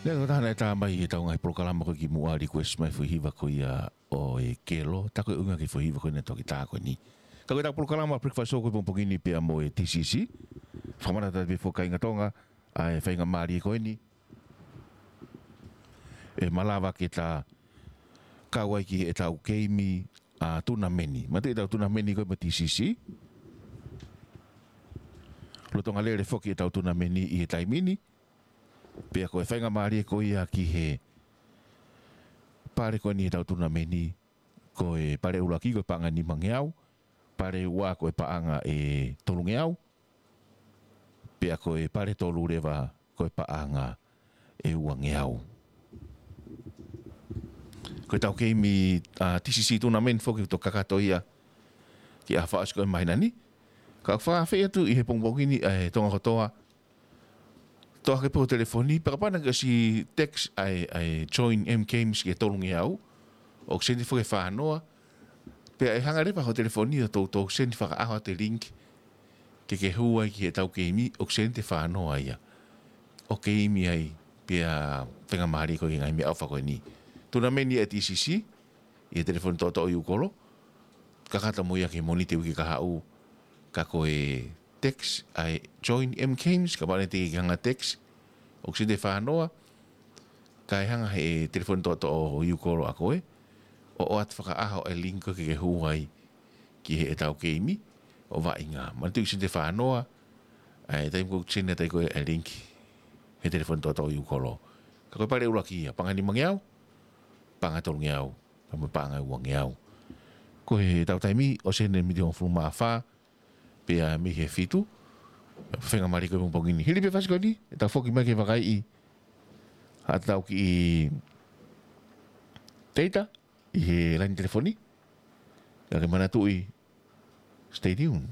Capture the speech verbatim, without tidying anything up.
Lea ko e taha naʻe tā mai ʻi heʻetau ngaahi polokalama ko ē kimuʻa, request mai e foʻi hiva ko ia ʻo e Kelo, tā ko ē ʻuhinga ki he foʻi hiva ko ē naʻe toki tā ko eni. Ka ko ʻetau polokalama Breakfast Show ko ē pongipongi ni pea mo e T C C. Fakamanatu atu pē foki kāinga Tonga, ʻa e faingamālie ko eni ʻe malava ke ta kau ai ki heʻetau keimi ʻa e tunameni. Manatuʻi ʻetau tunameni ko ē mo e T C C. Lolotonga lele foki ʻetau tunameni ʻi he taimi ni. Pea ko e faingamālie ko ia ki he pale ko eni ʻetau tunameni, ko e pale ʻuluaki ko e paʻanga ʻe nimangeau, pale ua ko e paʻanga ʻe tolungeau, pea ko e pale tolu leva ko e paʻanga ʻe uangeau. Ko ʻetau keimi ʻa e T C C tournament foki ʻoku toki kakato ia ki he ʻaho fakaʻosi ko ē ʻo e māhina ni. Ka ʻoku ou fakaafeʻi atu ʻi he pongipongi ni ʻa e Tonga kotoa, toʻo hake pē ho telefoni, pe kapau naʻa ke ʻosi text ʻa e, ʻa e join M Games ki he tolungeau, ʻoku send foki ki he fānoa, pea ʻe hanga leva ho telefoni ʻo toutou send fakaʻaho atu e link ke ke hū ai ki heʻetau keimi, ʻoku send ʻe he fānoa ia ʻo keimi ai, pea faingamālie koe ki he ngaahi meʻaʻofa ko eni. Tunameni ʻa e T C C, ʻi he telefoni toʻotoʻo ʻi ʻUkolo, kakato mo ia ki he Mōnite uike kahaʻu, ka ko e text ʻa e join M Games, kapau naʻa ke teʻeki ke hanga text, ʻoku send ʻe he fānoa, kae hanga ʻe he telefoni toʻotoʻo ʻi ʻUkolo ʻa koe ʻo ʻoatu fakaʻaho e link ko ē ke ke hū ai ki heʻetau keimi ʻo vaʻinga. Manatuʻi send ʻe he fānoa ʻa e taimi ko ē ʻoku send ai ko ē e link he telefoni toʻotoʻo ʻi ʻUkolo. Ka ko e pale ʻuluaki ia, paʻanga ʻe nimangeau, paʻanga ʻe tolungeau, pea mo e paʻanga ʻe uangeau. Ko ʻetau taimi ʻosi eni miniti hongofulu mā fā pea mei he fitu. Faingamālie ko ē pongipongi ni. Hili pē fasi ko eni, ʻe tau foki mai ke vakaiʻi haʻatau kiʻi teita ʻi he laine telefoni. Ka ke manatuʻi, stay tuned.